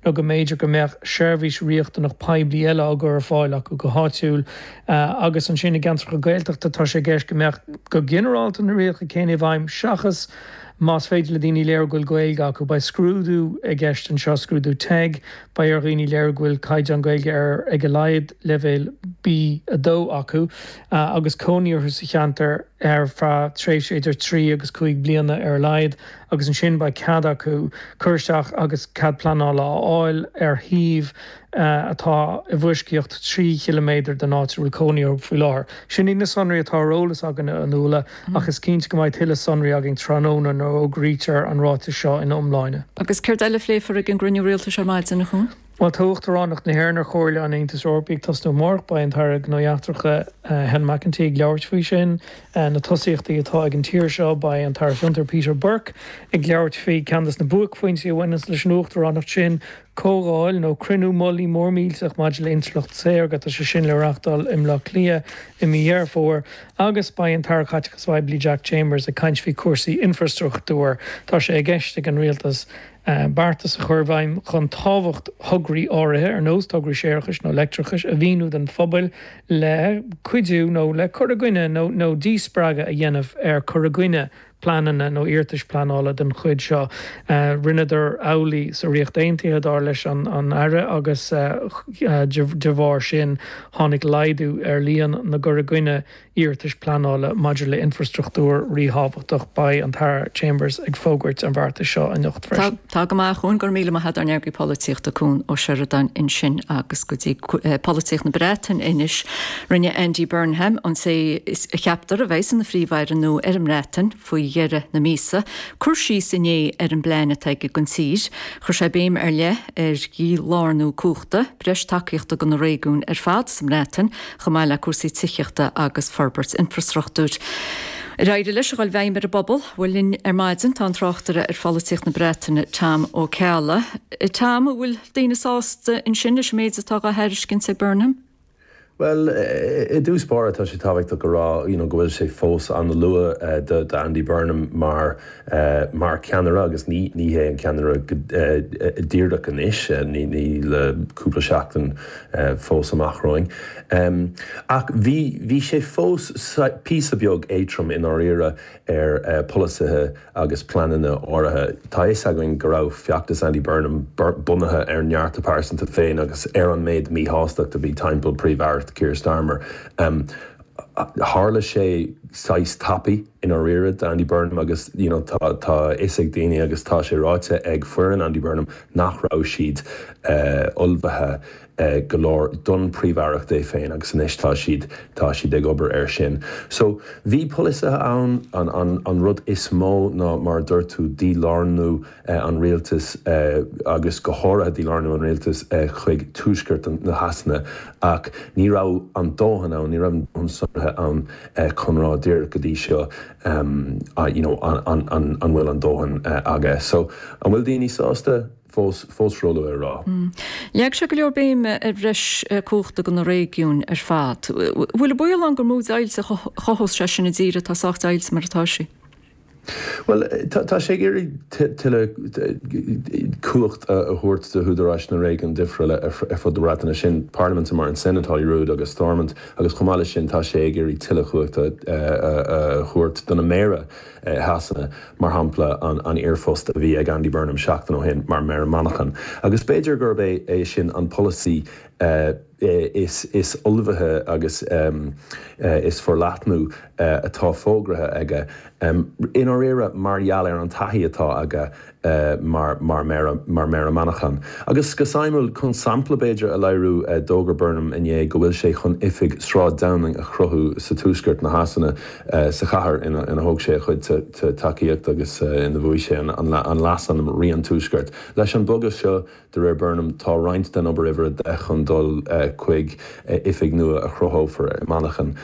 nó go mb'fhéidir go mbeadh seirbhís riachtanach poiblí eile á gcur ar fáil acu go háitiúil. Agus ansin i gceantracha Gaeltachta tá sé i gceist go mbeadh go ginearálta na rialacha céanna i bhfeidhm seachas más féidir le daoine léiriú go bhfuil Gaeilge acu. Beidh scrúdú i gceist anseo, scrúdú TEG, beidh ar dhaoine léiriú go bhfuil caighdeán Gaeilge ar ag a laghad leibhéal B2 acu agus cónaí orthu sa cheantar ar feadh tréimhse idir 3 agus 5 bliana ar a laghad agus ansin beidh cead acu cur isteach agus cead pleanála a fháil ar shuíomh atá i bhfoisceacht 3 chiliméadar den áit a bhfuil cónaí orthu faoi láthair. Sin iad na sonraí atá ar eolas againn, a Fhionnuala, ach is cinnte go mbeidh tuilleadh sonraí againn tráthnóna nuair a fhógraítear an ráiteas seo ina iomláine. Agus céard eile a phléifear ag an gcruinniú rialtais ar maidin, a Chuain? Bhuel, tá Uachtaránacht na hÉireann ar Chomhairle an Aontais Eorpaigh ag tosnú amárach. Beidh an tAire Gnóthaí Eachtracha, Helen McEntee ag labhairt faoi sin, na tosaíochtaí atá ag an tír seo. Beidh an tAire Fiontar, Peter Burke, ag labhairt faoi ceann de na buaicphointí a bhaineanns leis an Uachtaránacht sin, Comhdháil nó cruinniú mullaigh mór millteach maidir le Intleacht Saorga, tá sé sin le reachtáil i mBleá Cliath i mí Dheireadh Fómhair agus beidh an tAire Caiteachais Phoiblí Jack Chambers ag caint faoi chúrsaí infreastruchtúir. Tá sé i gceist ag an Rialtas beartas a chur i bhfeidhm chun tábhacht thograí áirithe, ar nós tograí séarachais nó leictreachais, a mhíniú don phobal le cuidiú nó le cur i gcoinne nó díspreagadh a dhéanamh ar cur i gcoinne pleananna nó iarratais pleanála den chuid seo. Rinneadar amhlaidh sa Ríocht Aontaithe, dar leis an Aire, agus de bharr sin tháinig laghdú ar líon na gcur i gcoinne iarratais pleanála maidir le infreastruchtúr ríthábhachtach. Beidh an tAire Chambers ag fógairt an bheartais seo anocht freisin. Tá go maith, a Chuain, go raibh míle maith agat, ár n-eagraí polaitíochta Cuan Ó Seireadáin ansin agus go dtí polaitíocht na Breataine anois. Rinne Andy Burnham, an té a cheaptar a bheas ina Phríomh-Aire nua ar an mBreatain faoi dheireadh na míosa, cur síos inné ar an bplean atá aige don tír. Chuir sé béim ar leith ar dhílárnú cumhachta, breis tacaíochta do na réigiúin ar fad sa mBreatain, chomh maith le cúrsaí tithíochta agus forbairt infreastruchtúir. Ar éirigh leis a dhul i bhfeidhm ar an bpobal? Bhuel, linn ar maidin tá an tráchtaire ar pholaitíocht na Breataine, Tom Ó Ceallaigh. Tom, an bhfuil daoine sásta ansin leis an méid atá dhá thairiscint ag Burnham? Bhuel, i dtús báire tá sé tábhachtach a rá you know go bhfuil sé fós an-luath do Andy Burnham mar mar cheannaire agus ní ní hé an ceannaire díreach anois, ní ní le cúpla seachtain fós amach romhainn. Ach bhí bhí sé fós píosa beag éadtrom i ndáiríre ar pholasaithe agus pleananna áirithe. Tá a fhios againn go raibh feachtas Andy Burnham bunaithe ar neart a pearsanta féin agus ar an méid míshástacht a bhí timpeall Príomh-Aireacht Keir Starmer. Tharla sé saghas tapaidh i ndáiríre d'Andy Burnham agus you know tá a fhios ag daoine agus tá sé ráite ag foireann Andy Burnham nach raibh siad ullmhaithe go leor don Príomh-Aireacht é féin agus anois tá siad, tá siad ag obair air sin. So, bhí polasaithe ann, an, an, an rud is mó ná mar a dúirt tú, dílárnú an rialtais agus go háirithe dílárnú an rialtais chuig tuaisceart na Shasana ach ní raibh an dóthain ann, ní raibh an dóthain sonraithe ann chun rá díreach go dtí seo you know an, an, an, an bhfuil an dóthain aige. So, an bhfuil daoine sásta? Fós, fós róluath a rá. Leag sé go leor béime ar bhreis cumhachta do na réigiúin ar fad. Bhfuil an baol ann gur mó deighilt a chothós sé sin i dtír atá sách deighilte mar atá sí? Bhuel, tá sé ag iarraidh tuilleadh cumhacht a thabhairt do húdaráis na réigiún difriúla ar fud na Breataine, sin parlaimintí mar an Senedd Holyrood agus Stormont, agus chomh maith leis sin tá sé ag iarraidh tuilleadh cumhachta a thabhairt do na méara i Shasana. mar shampla an iarphost a bhí ag Andy Burnham seachtain ó shin mar Mhéara Manchain. Agus b'fhéidir gurb é sin an polasaí is ullmhaithe agus is forleathnú atá fógraithe aige, i ndáiríre mar gheall ar an taithí atá aige mar Mhéara Manchain. Agus go suimiúil, chun sampla b'fhéidir a léiriú, d'fhógair Burnham inné go bhfuil sé chun oifig Sráid Downing a chruthú sa tuaisceart na Shasana, sa chathair ina thóg sé a chuid tacaíocht agus ina bhuaigh sé an leasainm Rí an Tuaiscirt. Leis an bogadh seo, De réir Burnham, tá roinnt den obair uimhir 10 chun dul chuig oifig nua a chruthófar i Manchain.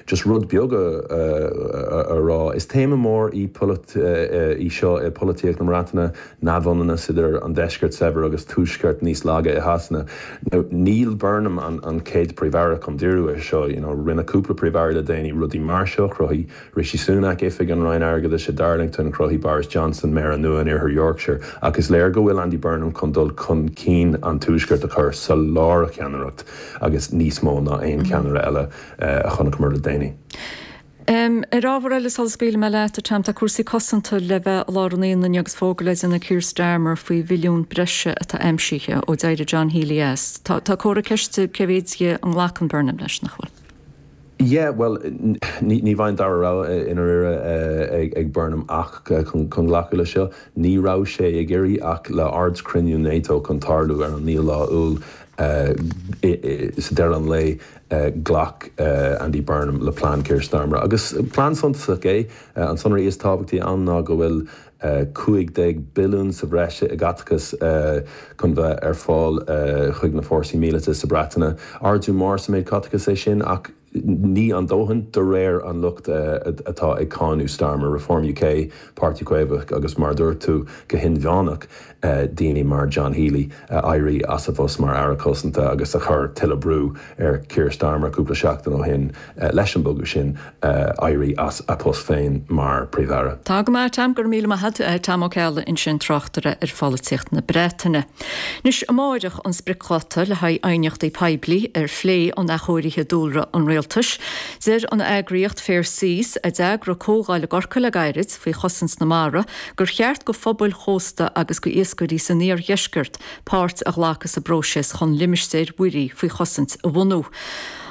Just rud beag a rá, is téama mór í í seo i polaitíocht na. Breataine, neamhionannas idir an deisceart saibhir agus tuaisceart níos laige i Shasana. Now níl Burnham an chéad Príomh-Aire chun díriú air seo, you know rinne cúpla Príomh-Aire le déanaí rudaí mar seo, chruthaigh Rishi Sunak oifig an Roinn Airgeadais i Darlington, chruthaigh Boris Johnson Méara nua in Iarthar Yorkshire, ach is léir go bhfuil Andy Burnham chun dul chun cinn an Tuaiscirt a chur sa lár a cheannaireacht agus níos mó ná aon cheannaire eile a chonaiceamar le déanaí. Ar ábhar eile sula scaoilfidh mé leat, a Tom, tá cúrsaí cosanta le bheith i lár an aonaigh inniu agus fógra le déanamh ag Keir Starmer faoi bhilliún breise atá aimsithe ó d'éirigh John Healey as. Tá comhartha ceiste cé mhéad dhe a nglacann Burnham leis, nach bhfuil? Yeah, bhuel, ní bheidh an dara rogha i ndáiríre ag Burnham ach chun glacadh leis seo. Ní raibh sé ag iarraidh ach le hardchruinniú NATO chun tarlú ar an naoú lá Iúil sa deireadh an lae, Ghlac Andy Burnham le plean Keir Starmer agus plean suntasach é. An sonraí is tábhachtaí ann ná go bhfuil 15 billiún sa bhreis i gcaiteachas chun bheith ar fáil chuig na fórsaí míleata sa Breatain. Ardú mór sa méid caiteachais é sin ach ní an dóthain de réir an lucht atá ag cáineadh Starmer, Reform UK, Páirtí Caomhach agus mar a dúirt tú go hinmheánach. daoine mar John Healey a éirigh as a phost mar Aire Cosanta agus a chuir tuilleadh brú ar Keir Starmer cúpla seachtain ó shin leis an bogadh sin éirí as a post féin mar Phríomh-Aire. Tá go maith, Tom, go raibh míle maith agat. Tom Ó Ceallaigh ansin, tráchtaire ar pholaitíocht na Breataine. Anois, amáireach an spriocdháta le haghaidh aighneachtaí poiblí ar phlé an athchóirithe dúlra an Rialtais. Deir an eagraíocht Fair Seas, a d'eagraigh comhdháil i gCorcaigh le gairid faoi chosaint na mara, gur cheart go phobail chósta agus go iascairí san iardheisceart páirt a ghlacadh sa bpróiseas chun limistéir mhuirí faoi chosaint a bhunú.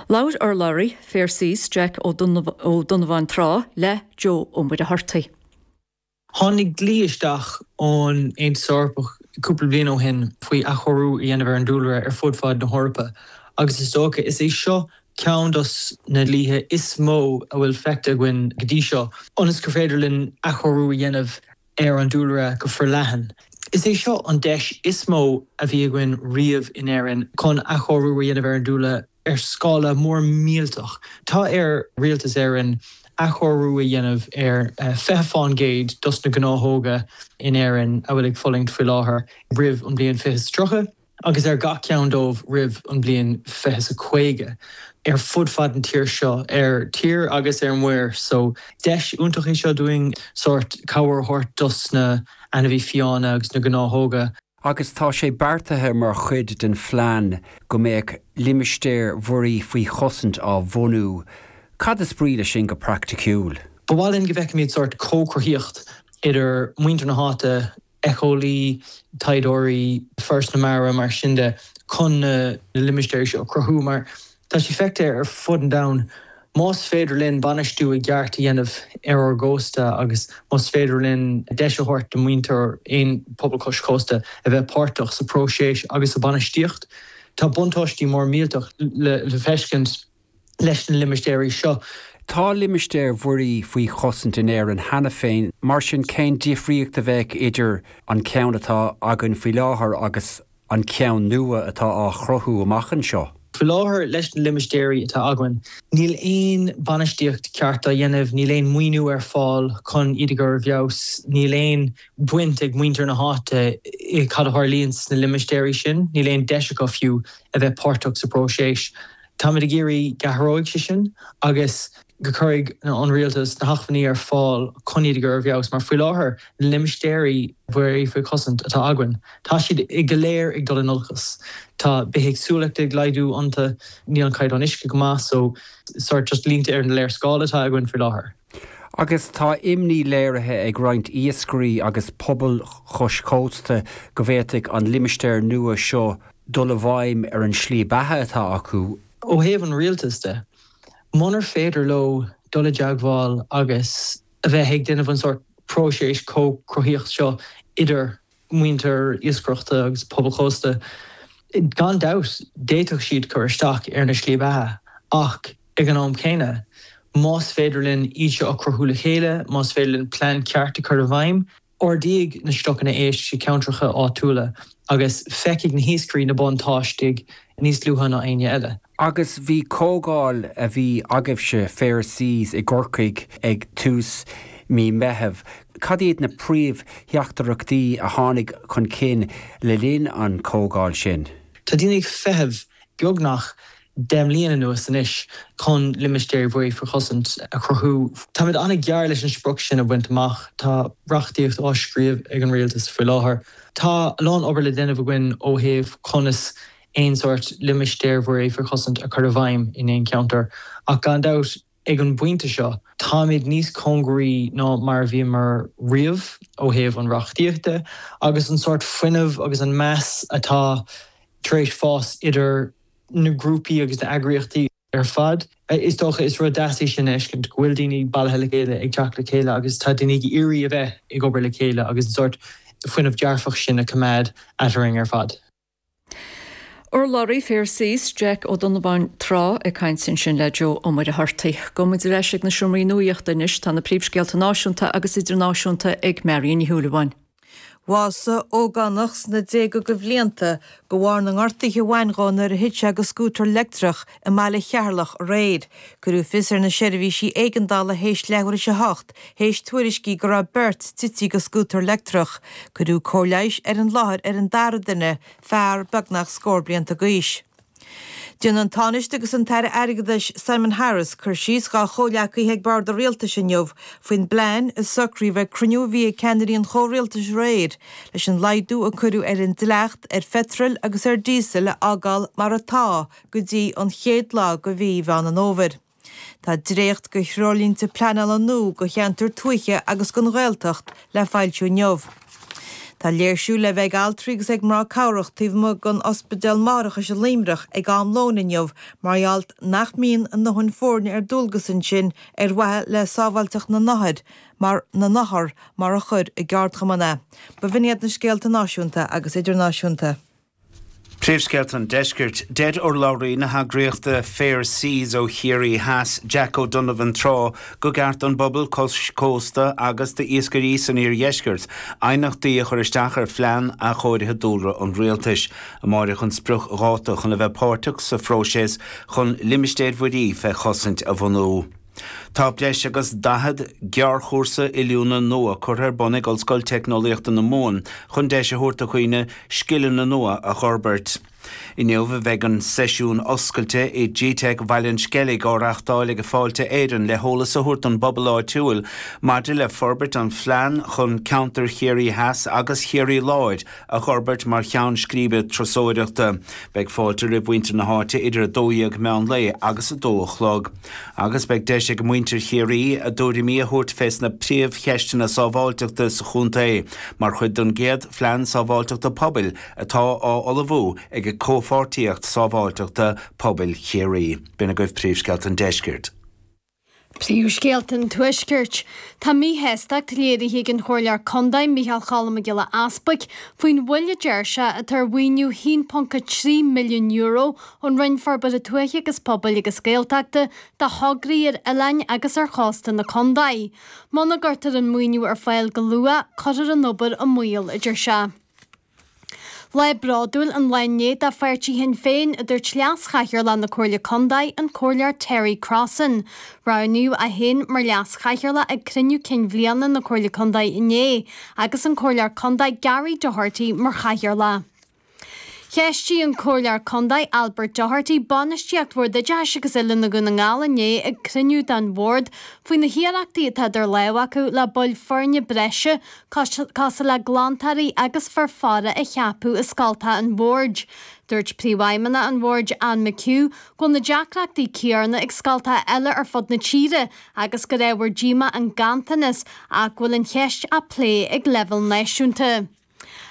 Labhair urlabhraí Fair Seas, Jack Ó Donnabháin Trá, le Joe Ó Muircheartaigh. Tháinig dlí isteach ón Aontas Eorpach cúpla bliain ó shin faoi athchóiriú a dhéanamh ar an dúlra ar fud fad na hEorpa agus is dócha is é seo ceann dos na dlíthe is mó a bhfuil feicthe againn go dtí seo, ionas gur féidir linn athchóiriú a dhéanamh ar an dúlra go forleathan. Is é seo an deis is mó a bhí againn riamh in Éirinn chun athchóiriú a dhéanamh ar an dúlra ar scála mór millteach. Tá ar Rialtas Éireann athchóiriú a dhéanamh ar 20 fán gcéad dos na gnáthóga in Éirinn a bhfuil ag fulaingt faoi láthair roimh an bhliain 2030. agus ar gach ceann dóibh roimh an bhliain 2050, ar fud fad an tír seo, ar tír agus ar muir. So, deis iontach é seo dúinn sórt cabhair a thabhairt dos na ainmhí fiáine agus na gnáthóga. Agus tá sé beartaithe mar chuid den phlean go mbeadh limistéir mhuirí faoi chosaint á bhunú. Cad is brí leis sin go praiticiúil? Ba mhaith linn go bhfeicfimid sórt comhchruthaíocht idir muintir na háite, éiceolaí, taighdeoirí, Foras na Mara, mar sin de, chun na limistéirí seo a chruthú mar tá sé feicthe ar fud an domhain, más féidir linn bainistiú i gceart a dhéanamh ar ár gcósta agus más féidir linn deis a thabhairt do mhuintir aon pobal cois cósta a bheith páirteach sa phróiseas agus sa bhainistíocht, tá buntáistí mór millteach le feiscint. leis na limistéirí seo. Tá limistéir mhuirí faoi chosaint in Éirinn cheana féin, mar sin cén difríocht a bheadh idir an ceann atá againn faoi láthair agus an ceann nua atá á chruthú amach anseo? Faoi láthair, leis na limistéirí atá againn, níl aon bainistíocht ceart á dhéanamh, níl aon maoiniú ar fáil chun iad a chur i bhfeabhas, níl aon bhaint ag muintir na háite i cad a tharlaíonn sna limistéirí sin, níl aon deis acu fiú a bheith páirteach sa bpróiseas. Táimid ag iarraidh go athróidh sé sin agus go cuirfidh an rialtas na hacmhainní ar fáil chun iad a chur i bhfeabhas mar faoi láthair na limistéirí mhuirí faoi chosaint atá againn, tá siad go léir ag dul in olcas. Tá bithéagsúlacht ag laghdú iontu, níl an caighdeán uisce go maith so sort just línte ar an léarscáil atá againn faoi láthair. Agus tá imní léirithe ag roinnt iascairí agus pobail chois cósta go bhféadfadh an limistéar nua seo dul i bhfeidhm ar an slí beatha atá acu. Ó thaobh an rialtais de, munar féidir leo dul i dteagmháil agus a bheith ag déanamh an sórt próiseas comhchruthaíocht seo idir muintir iascaireachta agus pobail chósta, gan dabht d'fhéadfadh siad cur isteach ar na slí beatha ach ag an am céanna, más féidir linn iad seo a chruthú le chéile, más féidir linn plean ceart a chur i bhfeidhm, Ardóidh na stocanna éisc i gceantracha áitiúla agus feicfidh na hiascairí na buntáistí níos luaithe ná éinne eile. Agus bhí comhdháil a bhí agaibhse, Fair Seas, i gCorcaigh ag tús. mí Meitheamh. Cad iad na príomhtheachtaireachtaí a tháinig chun cinn le linn an chomhdháil sin? Tá daoine ag feitheamh beagnach 10 mbliana anuas anois chun limistéir mhuirí faoi chosaint a chruthú. Táimid an-ghearr leis an sprioc sin a bhaint amach. Tá reachtaíocht á scríobh ag an rialtas faoi láthair. Tá a lán obair le déanamh againn ó thaobh conas aon sórt limistéir mhuirí faoi chosaint a chur i bhfeidhm in aon cheantar ach gan dabht, Ag an bpointe seo, táimid níos cóngaraí ná mar a bhíomar riamh ó thaobh an reachtaíochta agus an sórt fuinnimh agus an meas atá tar éis fás idir na grúpaí agus na eagraíochtaí ar fad. Is dócha, is rud deas é sin a fheiscint, go bhfuil daoine bailithe le chéile, ag teacht le chéile agus tá daoine ag iarraidh a bheith ag obair le chéile agus an sórt fuinneamh dearfach sin a choimeád eadrainn ar fad. Urlabhraí Fair Seas, Jack Ó Donnabháin Trá ag caint ansin le Joe Ó Muircheartaigh. Gabhfaidh muid ar ais ag na seomraí nuaíochta anois. Tá na príomhscéalta náisiúnta agus idirnáisiúnta ag Marion Ní Shúilleabháin. Bhásaigh ógánach sna déaga de bhlianta de bharr na ngortuithe a bhain dhó nuair a thit sé de scútar leictreach i mbaile Cheatharlach aréir. Cuireadh fios ar na seirbhísí éigeandála théis leathuair théis a hocht théis tuairiscí go raibh beirt tite de scútar leictreach. Cuireadh cóir leighis ar an láthair ar an dara duine, fear beagnach scór blianta d'aois. Déanfaidh an Tánaiste agus an tAire Airgeadais Simon Harris cur síos dhá chomhghleacaithe ag bord an Rialtais inniu faoin bplean a socraíodh ag cruinniú a bhí ag ceannairí an chomhrialtais aréir leis an laghdú a cuireadh ar an dleacht ar pheitreal agus ar díosal a fhágáil mar atá go dtí an chéad lá de mhí Mheán an Fhómhair. Tá dréacht de threoirlínte pleanála nua do cheantair tuaithe agus don Ghaeltacht le foilsiú inniu. Tá léirsiú le bheith ag altraí agus ag mná cabhrach taobh amuigh den Ospidéal Máithreachais i Luimneach ag am lóin inniu mar gheall nach mbíonn a ndóthain foirne ar dualgas ansin ar mhaithe le sábháilteacht na n-othar mar na n-othar mar a chuir a gceardchumann é. B'in iad na scéalta náisiúnta agus idirnáisiúnta. Príomhscéalta an Deiscirt. Deir urlabhraí na heagraíochta Fair Seas ó Chiarraí Theas, Jack O'Donovan Trá, go gceart don bpobal cois cósta agus d'iascairí san iardheisceart aighneachtaí a chur isteach ar phlean athchóirithe dúlra an rialtais. Amáireach an spriocdháta chun a bheith páirteach sa phróiseas chun limistéir mhuirí fé chosaint a bhunú. Tá breis agus 40 gearrchúrsa oiliúna nua curtha ar bun ag Ollscoil Teicneolaíochta na Mumhan chun deis a thabhairt do dhaoine scileanna nua a dh'fhorbairt. Inniu a bheidh an seisiún oscailte i gteic Bhaile an Sceilg á reachtáil ag Fáilte Éireann le heolas a thabhairt don bpobal áitiúil maidir le forbairt an phlean chun ceantar Chiarraí Theas agus Chiarraí Láir a dh'fhorbairt mar cheann scríbe turasóireachta. Beidh fáilte roimh mhuintir na háite idir 12 meán lae agus 2 a chlog. Agus beidh deis ag muintir Chiarraí a dtuairimí a thabhairt fés na príomhcheisteanna sábháilteachta sa chontae mar chuid den gcéad Phlean Sábháilteachta Pobail atá á ullmhú ag Comhpháirtíocht Sábháilteachta Pobail Chiarraí. B'in agaibh príomhscéalta an deiscirt. Príomhscéalta an Tuaiscirt. Tá míshástacht léirithe ag an Chomhairleoir Contae, Micheál Cholm Mac Giolla Easbuic, faoin mhoill a deir sé atá ar mhaoiniú €1.3 milliún ón Roinn Forbartha Tuaithe agus Pobail agus Gaeltachta do thograí ar oileáin agus ar chósta na contae. Muna gcuirtear an maoiniú ar fáil go luath, cuirfear an obair i mbaol, a deir sé. Lá bródúil an lá inné do pháirtí Shinn Féin, a dúirt Leas-Chathaoirleach na Comhairle Contae, an Comhairleoir Terry Crossan. Roghnaíodh é féin mar Leas-Chathaoirleach ag cruinniú cinn bhliana na Comhairle Contae inné agus an Comhairleoir Contae Gary Doherty mar Chathaoirleach. Cheistigh an Comhairleoir Contae Albert Doherty bainistíocht Bhord Oideachais agus Oiliúna Dhún na nGall inné ag cruinniú den Bhord faoi na hiarrachtaí atá idir lámha acu le baill foirne breise cosúil le glantóirí agus fir faire a cheapadh i scoltacha an Bhoird. Dúirt Príomhfheidhmeannach an Bhoird, Anne McHugh, go bhfuil na deacrachtaí céanna ag scoltacha eile ar fud na tíre agus gur ábhar díomá an ganntanas ach go bhfuil an cheist á plé ag leibhéal náisiúnta.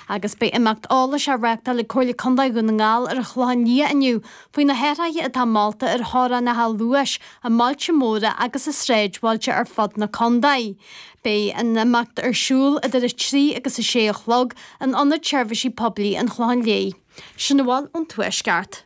Agus beidh imeacht eolais á reáchtáil ag Comhairle Contae Dhún na nGall ar an Chlochán Liath inniu faoi na hathruithe atá molta ar theorainneacha luais i mbailte móra agus i sráidbhailte ar fud na contae. Beidh an imeacht ar siúl idir 3 agus 6 a chlog in Ionad Seirbhísí Poiblí an Chlocháin Léith. Sin a bhfuil ón Tuaisceart.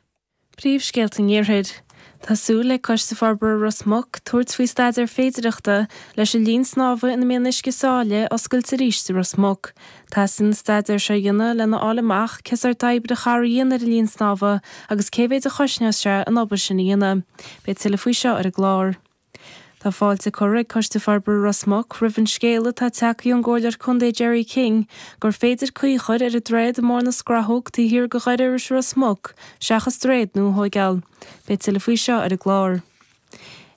Príomhscéalta an Iarthair. Tá súil le Coiste Forbartha Ros Muc tabhairt faoi staidéar féidireachta leis an linn snámha ina mbíonn uisce sáile a oscailt arís i Ros Muc. Teastaíonn an staidéar seo a dhéanamh lena fháil amach cé sórt oibre a chaithfear a dhéanamh ar an linn snámha agus cé mhéid a chosnós sé an obair sin a dhéanamh. Beidh tuilleadh faoi seo ar an gclár. Tá fáilte curtha ag Coiste Forbartha Ros Muc roimh an scéala atá tagtha ón gComhairleoir Contae Gerry King gur féidir caoi a chur ar an droichead i mBarr na Scrathóg taobh thiar de Dhoire Iorrais Ros Muc seachas droichead nua a thóigeáil. Beidh tuilleadh faoi seo ar an gclár.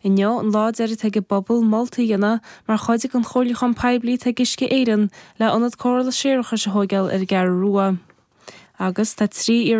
Inniu an lá deiridh atá ag an bpobal moltaí a dhéanamh mar chuid den chomhairliúchán poiblí atá ag Uisce Éireann le ionad cóireála séarachais a thóigeáil ar an gCeathrú Rua. Agus tá 3 iarratas.